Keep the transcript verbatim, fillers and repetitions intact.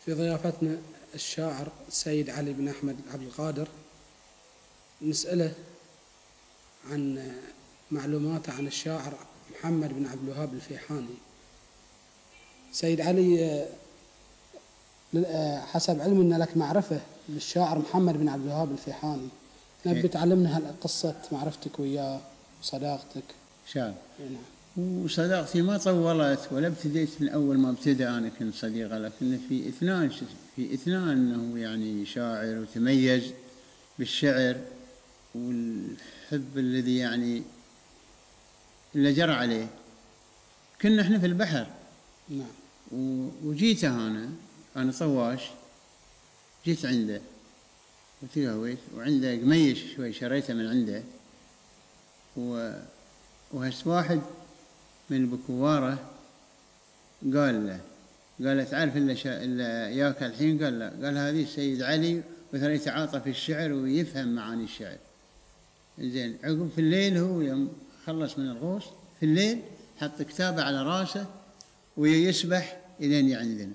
في ضيافتنا الشاعر السيد علي بن أحمد عبد القادر، نسأله عن معلوماته عن الشاعر محمد بن عبد الوهاب الفيحاني. سيد علي، حسب علمي أن لك معرفة بالشاعر محمد بن عبد الوهاب الفيحاني، نبي تعلمنا قصة معرفتك وياه وصداقتك. شاب وصداقتي ما طولت ولا ابتديت من أول ما ابتدأ أنا كنت صديقة، لكن في إثنان في إثنان أنه يعني شاعر وتميز بالشعر والحب الذي يعني اللي جرى عليه. كنا احنا في البحر. نعم. وجيته أنا أنا طواش، جيت عنده وتقهويت، وعنده قميش شوي شريته من عنده، و وهس واحد من بكواره قال له قال تعرف إلا, شا... إلا ياك الحين؟ قال لا. قال هذه السيد علي مثلا يتعاطى في الشعر ويفهم معاني الشعر. زين عقب في الليل هو يوم خلص من الغوص في الليل حط كتابه على راسه ويسبح إلين عندنا.